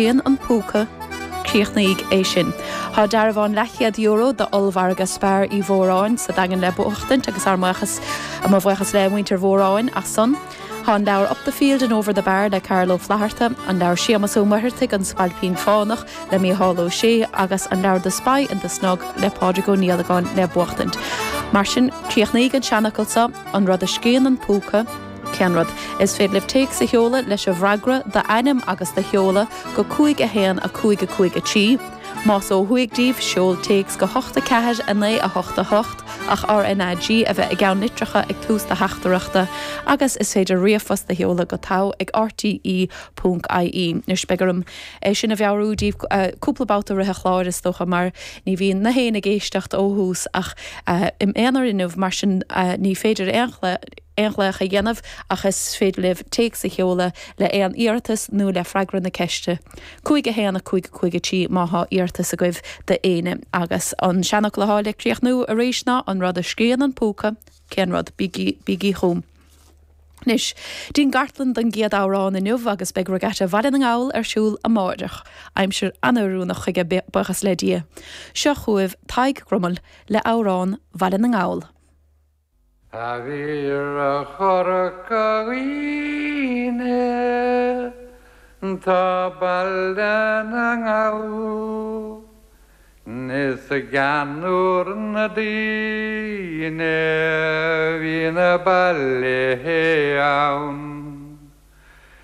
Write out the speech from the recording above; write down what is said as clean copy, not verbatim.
Scríonn an Púca, Críochnaígí é sin. Tá dearbhán leathchéad euro d'ollmhargadh Spar Uí Mhóráin sa Daingean le buachtaint agus ár mbuíochas, mo bhuíochas le muintir Mhóráin as san. Tá an leabhar Up the Field and Over the Bar le Carl Ó Flatharta, an leabhar Séamas Ó Muircheartaigh, An Spailpín Fánach le Mícheál Ó Sé agus an leabhar The Spy in the Snug le Pádraig Ó Niallagáin le buachtaint. Mar sin, críochnaígí an seanfhocal seo, An rud a scríonn an púca, Cén rud? Is féidir libh téacs a sheoladh leis an bhfreagra, d'ainm agus do sheoladh, go 5 1 5 5 3. Más ó thuaidh díbh, seol téacs go 8 4 9 8 8 ach RNAG a bheith i gceannlitreacha ag tús do theachtaireachta agus is féidir ríomhphost a sheoladh go togha ag rte ponc ie. Anois beidh orm é sin a mheabhrú díbh cúpla babhta i rith an chláir is dócha mar ní bhíonn na héinne ag éisteacht ó thús ach im aonar inniu mar sin ní féidir aon aon ghlaoch a dhéanamh ach is féidir libh téacs a sheoladh le aon iarratas nó le freagra na ceiste. 5 1 5 5 3 má thá iarratas agaibh d'éinne. Agus an seanfhocal athá le críochnú arís ná an rud a scríonn an púca, cén rud? Bígí, bígí chugam. Anois, dtí'n gcartlann don gcéad amhrán inniu agus beidh Regatta Bhaile na nGall ar siúl amáireach. Aimsir an-oiriúnach chuige, buíochas le Dia. Seo chugaibh Tadhg Grummell le amhrán Bhaile na nGall. A bhí ar Chorca Dhuibhne tá Baile na nGall Is i gceannúr na daoine bhí na baile ann.